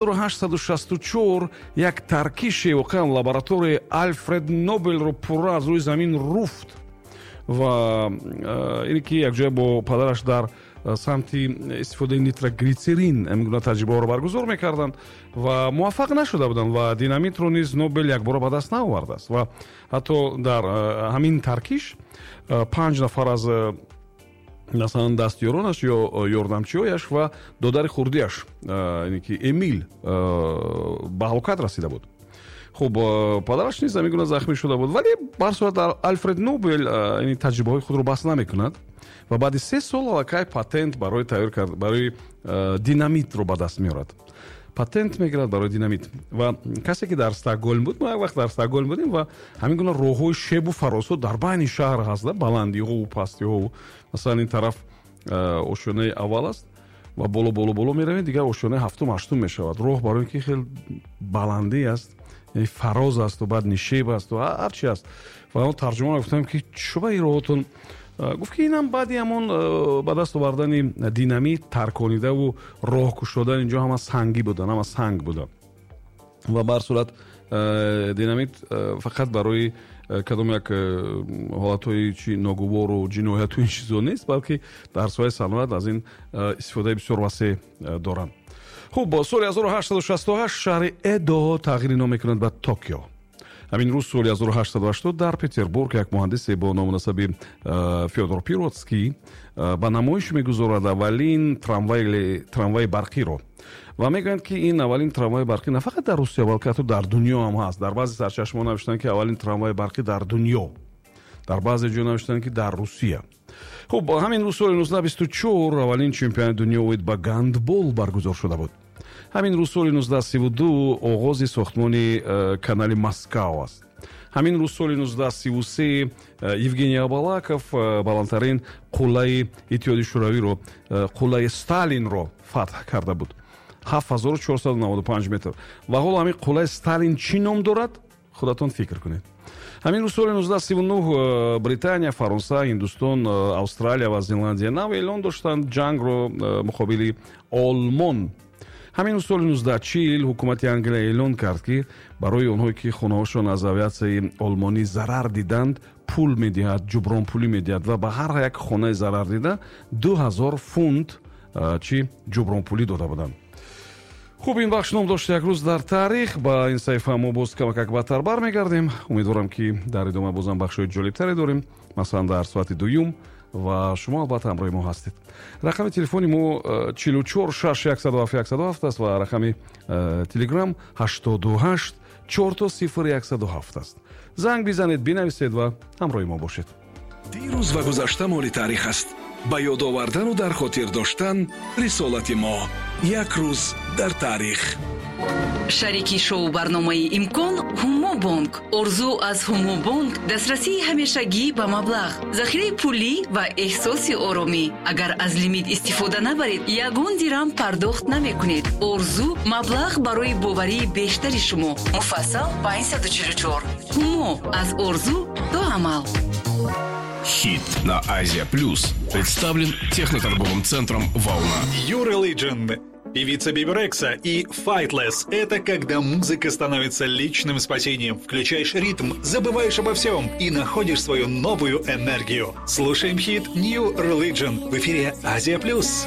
1864 як таркише воқеан лабораторияи Алфред Нобелро пурра аз рӯи замин руфт ва ине ки якҷоя бо падараш дар самти истифодаи нитроглитсерин ҳамин гуна таҷрибаҳоро баргузор мекарданд ва муваффақ нашуда буданд ва динамитро низ Нобел якбора ба даст наовардааст. Ва ҳатто дар ҳамин таркиш панҷ нафар аз, масалан, дастёронаш ё ёрдамчиҳояш ва додари хурдиаш, ине ки Эмил, ба ҳалокат расида буд. Хуб, падараш низ ҳамин гуна захмӣ шуда буд, вале ба ҳар сурат Алфред Нобел ин таҷрибаҳои худро бас намекунад ва баъди 3 сол аллакай патент барои тайёр кард, барои динамитро ба даст меорад, патент мегирад барои динамит. Ва касе ки дар Стокгольм буд, мо як вақт дар Стокгольм будем ва ҳамин гуна роҳҳои шебу фарозҳо дар байни шаҳр ҳаст, баландиҳову пастиҳову. Масалан, ин тараф ошёнаи аввал аст ва боло, боло, боло меравем, дигар ошёнаи ҳафтум, ҳаштум мешавад роҳ, барои ин ки хел баландӣ аст, яъне фароз асту баъд нишеб асту ҳар чи аст. Ва он тарҷумон гуфтам, ки чӯба ин роҳотон? Гуфт, ки инам баъди ҳамон ба даст овардани динамит тарконидаву роҳ кушодан, инҷо ҳама сангӣ буданд, ҳама санг буда. Ва ба ҳар сурат динамит фақат барои кадом як ҳолатҳои чи ногувору ҷинояту ин чизо нест, балки дар соҳаи саноат аз ин истифодаи бисёр васеъ доранд. Хуб, соли 1868 шаҳри Эдо тағйири ном мекунад ба Токио. Ҳамин рӯз соли 1880 дар Петербург як муҳандисе бо ному насаби Фёдор Пироцкий ба намоиш мегузорад аввалин трамваи барқиро ва мегӯянд, ки ин аввалин трамваи барқӣ на фақат дар Русия, балки ҳатто дар дунё ҳам ҳаст. Дар баъзе сарчашмаҳо навиштанд, ки аввалин трамваи барқӣ дар дунё, дар баъзе ҷо навиштанд, ки дар Русия. Хуб, ҳамин рӯз соли 1924 аввалин чемпионати дунё оид ба гандбол баргузор шуда буд. Ҳамин рӯз соли 1932 оғози сохтмони канали Москав аст. Ҳамин рӯз соли 1933 Евгений Абалаков баландтарин қуллаи Иттиҳоди Шӯравиро, қуллаи Сталинро фатҳ карда буд, 7495 метр. Ва ҳоло ҳамин қуллаи Сталин чӣ ном дорад, худатон фикр кунед. Ҳамин рӯз соли 1939 Британия, Фаронса, Ҳиндустон, Австралия ва Зеландия Нав эълон доштанд ҷангро муқобили Олмон. Ҳамин рӯз соли 1940 ҳукумати Англия эълон кард, ки барои онҳое ки хонаҳошон аз авиатсияи олмонӣ зарар диданд, пул медиҳад, ҷубронпулӣ медиҳад ва ба ҳар як хонаи зарардида 2000 фунт чӣ ҷубронпулӣ дода буданд. Хуб, ин бахш ном дошт «Як рӯз дар таърих». Ба ин саҳифа мо боз камакак баъдтар бармегардем. Умедворам, ки дар идома бозам бахшҳои ҷолибтаре дорем, масалан, дар соати дуюм, ва шумо албатта ҳамроҳи мо ҳастед. Рақами телефони мо 44 6 107 107 аст ва рақами Телеграм 88 4 0 107 аст. Занг бизанед, бинависед ва ҳамроҳи мо бошед. Дирӯз ва гузашта моли таърих аст. Ба ёд овардану дар хотир доштан рисолати мо. «Як рӯз дар таърих». Шарики шоу барномаи «Имкон» Ҳумобонк. Орзу аз Ҳумобонк: дастрасии ҳамешагӣ ба маблағ, захираи пулӣ ва эҳсоси оромӣ. Агар аз лимит истифода набаред, ягон дирам пардохт намекунед. Орзу: маблағ барои боварии бештари шумо. Муфассал 544. Ҳумо: аз орзу до амал. Хит на Азия Плюс представлен техноторговым центром «Волна». New Religion, певица Биби Рекса и Faithless – это когда музыка становится личным спасением. Включаешь ритм, забываешь обо всем и находишь свою новую энергию. Слушаем хит New Religion в эфире Азия Плюс.